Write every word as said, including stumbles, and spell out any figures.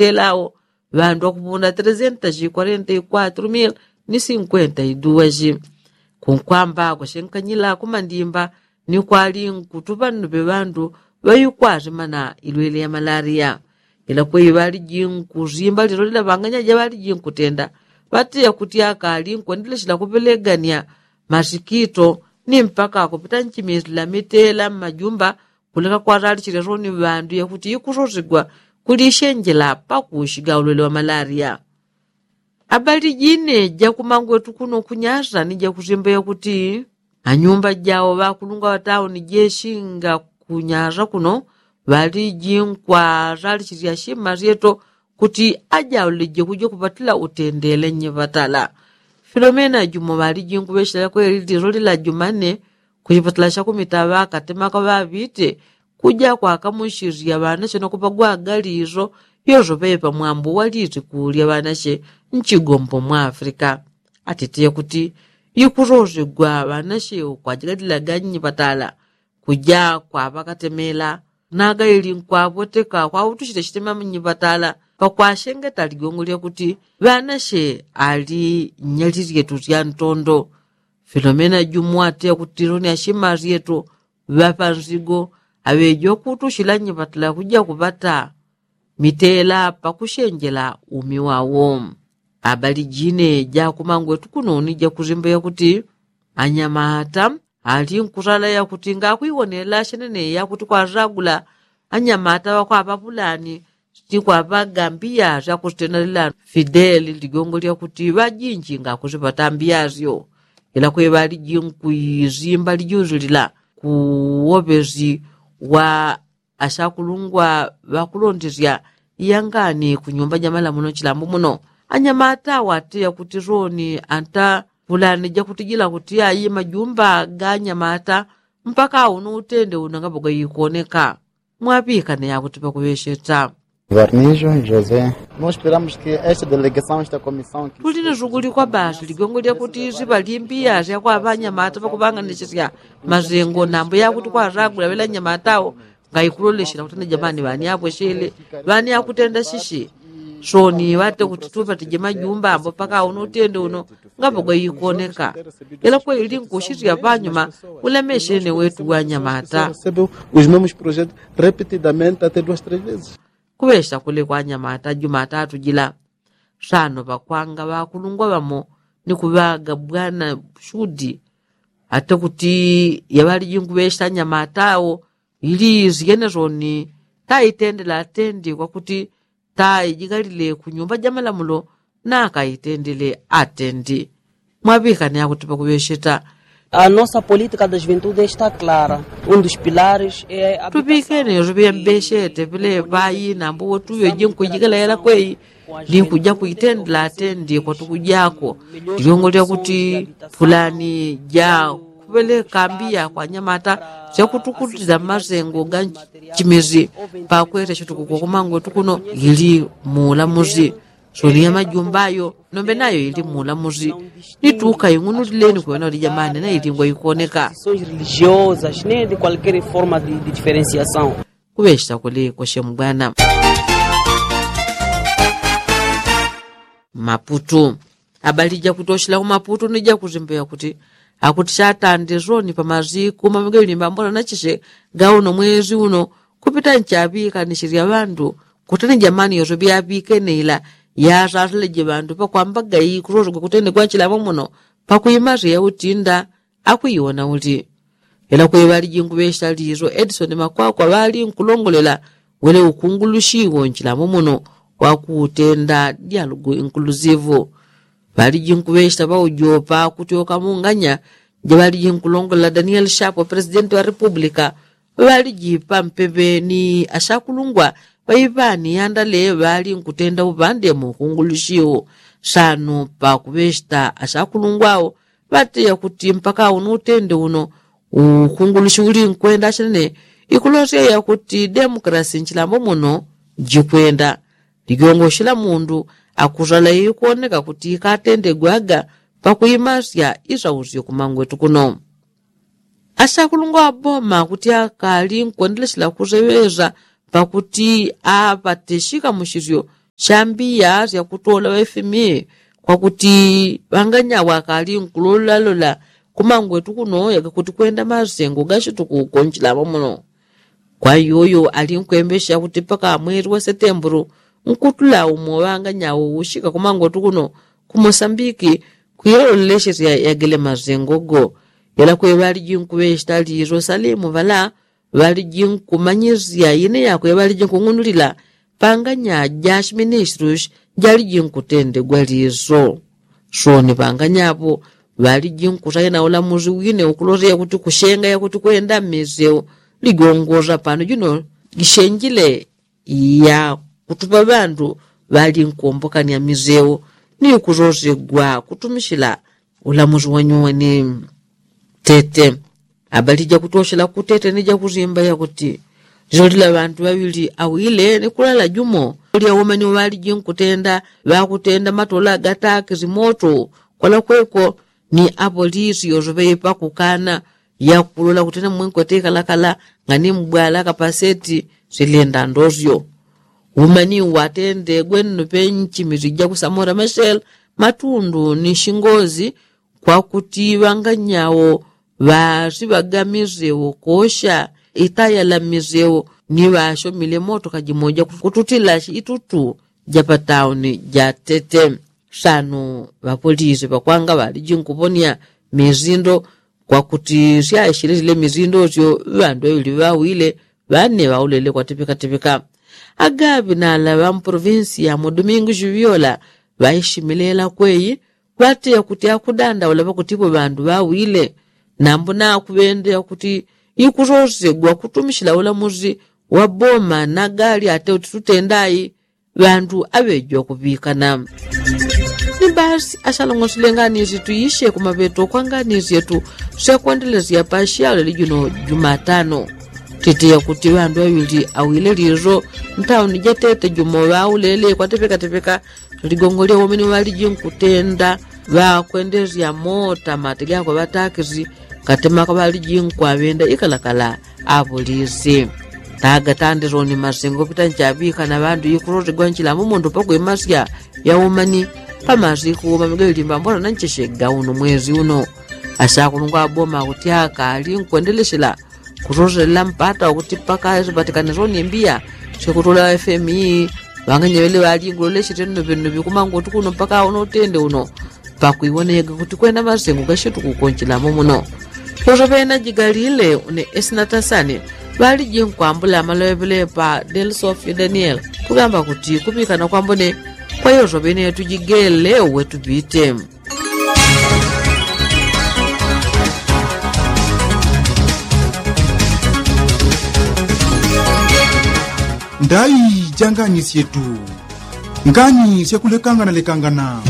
Telawo ŵandu ŵakupunda trezentas kwarenta i kwatru mil ni sinkwenta i duwaji. Kunkwamba kwashenkanyila kumandimba ni kwali nkutuŵa nnuŵe ŵandu ŵaikwarimana ilwele ya malaria. Ila kweyi ŵaliji nkuzimba lilo lila ŵanganya ja ŵaliji nkutenda ŵateya kuti akali nkwendeleshela kuŵelegania masikito ni mpaka kupita nchimilila mitela mmajumba kuleka kwaralichile soni ŵandu yakuti ikusosegwa kulishenjela pakushiga ulwele wa malaria. Abali jine jakumangwetu kuno kunyasa ni jakusimba yakuti anyumba jao ŵakulungwa ŵatauni jeshinga kunyasa kuno ŵaliji nkwaralichilya shima syeto kuti ajaulije kuja kupatila utendele nyiŵatala. Filomena jumo ŵaliji nkuŵeshela kweli lilo lila jumane kuchipatala shakumita ŵakatemaka ŵaŵite kuja kwakamushilya ŵanashe nokupagwa agaliso yoso ŵepa mwambu waliti kulya ŵanashe nchigombo mwa afrika. Atitiye kuti ikusosegwa ŵanashe ukwajigalilaga nyiŵatala kuja kwaŵakatemela naga ili nkwapweteka kwautushile shitema mnyiŵatala pakwashengeta ligongo lyakuti ŵanashe ali nyalilyetu sya ntondo. Filomena jumu ateya kuti loni ashima syetu ŵapa nzigo aŵeji wakutushila nyiŵatala kuja kuŵata mitela pakushenjela umi wawo. Abali jine jakumangwetu kuno ni jakusimba yakuti anyamata ali nkusala yakuti ngakwiwonela shenene yakuti kwasagula anyamata ŵakwaŵapulani ni kwaŵagambiya syakusitenalila fideli ligongo lyakuti ŵajinji ngakusiŵatambiya syo. Ila kweŵaliji nkuisimba lijuzi lila kuwoŵesi wa ashakulungwa ŵakulondesya iyangani kunyumba jamalamuno chilambo muno. Anyamata wateya kuti soni anta pulani jakutijila kuti ayi majumba ga anyamata mpaka uno utende uno ngapo gaikoneka. Mwaŵikane yakuti pakuŵesheta. Varnijo josé. Nós esperamos que esta delegação esta comissão que tuli ni suguli kwa basi ligongo lyakuti siŵalimbiya syakwaŵa anyamata pakuŵanganisisya mazengo nambo yakuti kwasagula ŵela anyamatawo ngaikuloleshela kuti ana jamani ŵani apweshele ŵani akutenda shishi. Soni ŵate kuti tupatije majumba ambo paka uno utende uno ngapo gaikoneka. Ila kweli nkushisya ŵanyuma ulemeshene wetu wanyamata. Recebeu os mesmos projetos repetidamente até duas três vezes. Kuŵesha kule kwa anyamata jumatatu jila. Sano ŵakwanga ŵakulungwa ŵamo ni kuŵaga bwana shudi ate kuti yaŵaliji nkuŵesha anyamata awo ili isyene soni taitendela atendi kwakuti taijikalile kunyumba jamalamulo nakaitendele atendi. Mwaŵikane akuti pakuŵesheta. A nossa política da juventude está clara. Um dos pilares é a tuŵikene yoso ŵiyambeshete ŵileŵayi nambo wotuŵeji nkujikela yela kweyi ni nkuja kuitendela atendi kwatukujako. Ligongo lyakuti pulani ja kuŵeleka mbiya kwa anyamata syakutukutila masengo ga nchimizi pakwesha shitukuko kumangwetu kuno ili muulamuzi. Soni ya majumba ayo nombe nayo ili muulamuzi. Ni tuka ing'unulileni kuŵena uli jamani na ilingwa ikoneka. Religiosas nem de qualquer forma de diferenciação. Kuŵesha kuli kwashe mbwana. Maputu. Abali jakutoshela ku maputu ni jakuzimbeya kuti akuti shatande soni pa maziku mamwege limba mbola na chishe ga uno mwezi uno kupita nchaŵikanishe lya ŵandu. Kutani jamani yoso ŵyaŵikene ila yasaseleje ŵandu pakwamba gai kusosegwa kutende kwa chilambo muno pakuimasya yautinda akuiwona uli. Ela kweŵaliji nkuŵesha liso edisoni makwakwa ŵali nkulongolela wele ukungulushi wo nchilambo muno wakutenda dyalugu inkulusivu. Ŵaliji nkuŵesha ŵaujopa kutyoka munganya jaŵaliji nkulongolela daniel shapo presidenti wa republika. Ŵaliji pampeŵe ni ashakulungwa ŵaiŵani yandale ŵali nkutenda uŵande mu ukungulushi wo. Sano pakuŵeshita ashakulungwa wo ŵateya kuti mpaka uno utende uno ukungulushi uli nkwenda ashanene ikulosya yakuti demukrasi nchilambo muno jikwenda. Ligongoshi la mundu akusala ikwoneka kuti ikatendegwaga pakuimasya isausyo kumangwetu kuno. Ashakulungwa ŵaboma kuti akali nkwendeleshela kuseŵeza pakuti aŵateshika mushisyo chambiya syakutola wefimi kwakuti ŵanganya wakali nkulolalola kumangwetu kuno yagakuti kwenda masengo gashituku konchilamo muno. Kwa yoyo ali nkwembesha kuti paka mwezi wa setemburu nkutula umo ŵanganya ushika kumangwetu kuno ku mosambiki kwilololeshe sya yagele masengo go. Yela kwe ŵaliji nkuŵeshita liso salimu ŵala ŵaliji nkumanyisya ine yakwe ŵaliji nkung'unulila panganya ja shiministrushi jaliji nkutendegwa liso. Soni panganya apo ŵaliji nkusaina ulamusi wine ukulosya yakuti kushenga yakuti kwenda mmiseu ligongosa pano jino jishenjile yakutupa ŵandu ŵali nkuombokanya miseu ni kusosegwa kutumishila ulamusi wanyuweni. Tete abali jakutoshela kutete ni jakusimba yakuti lilolila ŵandu ŵaŵili awile ni kulala jumo lya umani ŵaliji nkutenda ŵakutenda matola gatakisi moto kwalakweko ni apolisi yosoŵepa kukana yakulola kuti namwenkwete ikalakala ngani mbwala kapaseti silenda ndosyo. Umani watendegwe nno penchi misi jakusamora mashel matundu ni shingozi kwakuti ŵanganyawo ŵasiŵaga miseu kosha itaya la miseu ni ŵashomile moto kajimoja kututila itutu ja patauni ja tete. Sano ŵapolisi ŵakwanga ŵaliji nkuponia misindo kwakuti syaishilesile misindo syo ŵandu ŵaŵili ŵawile ŵane ŵaulele kwatipikatipika. Agaŵi nala ŵa mprovinsi ya mudumingu shivyola ŵaishimilela kweyi ŵateya kuti akudandaula ŵakutipo ŵandu ŵawile nambo nakuŵendeya kuti ikusosegwa kutumishila ulamusi wa boma nagali ate uti tutendai ŵandu aŵeji wakuŵikana. Ni basi asalong'osile nganisye tuisye kumaŵeto kwa nganisye tu syakwendelesya pa syalele juno jumatano. Titeya kuti ŵandu ŵaŵili awile liso ntauni jatete jumo ŵaulele kwatepekatepeka ligongo lya womene ŵaliji nkutenda ŵakwendelesya mota mati gakwe ŵatakisi katemaka ŵaliji nkwaŵenda ikalakala apolisi. Taga tandisoni masengo pita nchaŵikana ŵandu ikusosigwa nchilambo mundu pakwimasya yaumani pamasiku mamiga ilimba mbona nancheshega uno mwezi uno. Asakulungwa aboma kuti akali nkwendelesela kusoselela mpata wakuti paka sipatikane soni mbiya syakutula fmi ŵanganyeŵele ŵalingulolesye tenonoŵenonoŵi kumangu kuti kuno paka uno utende uno pakwiwoneyega kuti kwena masengo gashituku konchilamo muno. Kusoŵena jigalile une esinatasani ŵaliji nkwambula amaloŵeŵele pa del sofio daniel kugamba kuti kuŵikana kwambone kwa yosoŵene yetu jigele uwe tupite. Ndai ja ngani syetu. Ngani syakulekanganalekangana.